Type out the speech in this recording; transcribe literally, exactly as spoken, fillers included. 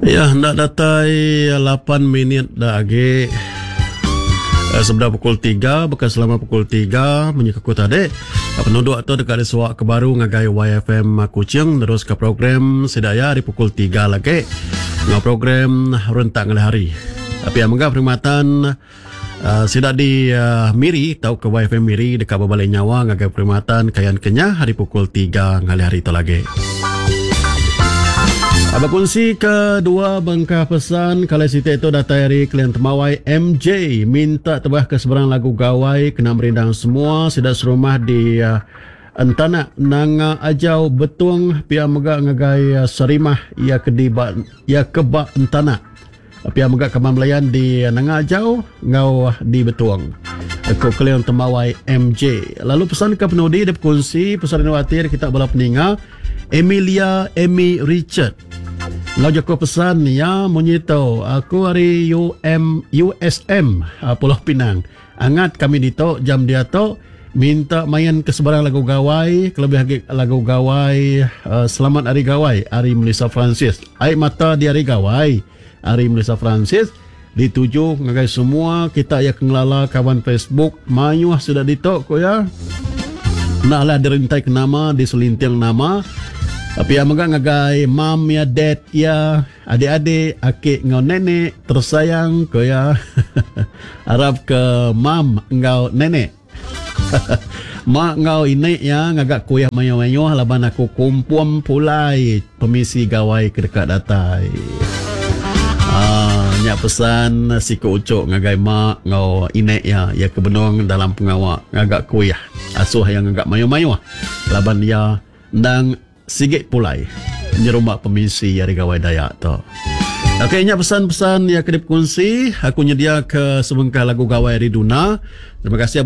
Ya, enda datai lapan minit da agi eh, sebedau pukul tiga, bukan selama pukul tiga munyi ku tadi. Penuduk tu deka disuak ke baru ngagai Y F M Kuching terus ke program Sedaya di pukul tiga lagi ngau program rentak ngalih hari. Tapi yang mega perkhidmatan uh, sida di uh, Miri tau ke Y F M Miri deka berbalik nyawa ngagai perkhidmatan Kayan Kenyah hari pukul tiga ngalih hari tu lagi. Abang kongsi kedua bengkah pesan kalau siti itu datai hari klien temawai M J minta tebah ke seberang lagu gawai kena merindang semua sida serumah di uh, Entanak Nanga Ajau Betung pia mega ngagai uh, Serimah ia ke di ba, ia ke ba Entanak pia mega kaban belayan di Nanga Ajau ngau di Betung. Aku klien temawai M J. Lalu pesan ke penudi dia berkongsi pesan inovatif kita bala peninga Emilia Amy Richard. Lau jaku pesan ya munyi tu aku hari U M U S M Pulau Pinang. Angat kami dito jam dia tu minta main ke sebarang lagu gawai, kelebih lagi lagu gawai uh, Selamat Hari Gawai hari Melissa Francis. Air mata di hari gawai hari Melissa Francis dituju ngagai semua kita yang kengelala kawan Facebook mayuh sudah dito ko ya. Naklah dirintai ke nama diselinting nama. Tapi yang mega ngagai mam ya dad ya adik-adik akik ngau nenek tersayang ko ya. Harap ke mam ngau nenek. Mak ngau inek ya ngagak kuih mayo-mayo laban aku kumpum pulai permisi gawai ke dekat datai. Ah, nyak pesan siku ucuk ngagai mak ngau inek ya ya ke benung dalam pengawak ngagak kuih asuh yang ngagak mayo-mayo laban ya ndang sigit pulai nyerumak pemisi hari gawai Dayak tu. Okey, nya pesan-pesan yang kedip kongsi. Aku nyedia ke sebengkah lagu gawai hari Duna. Terima kasih.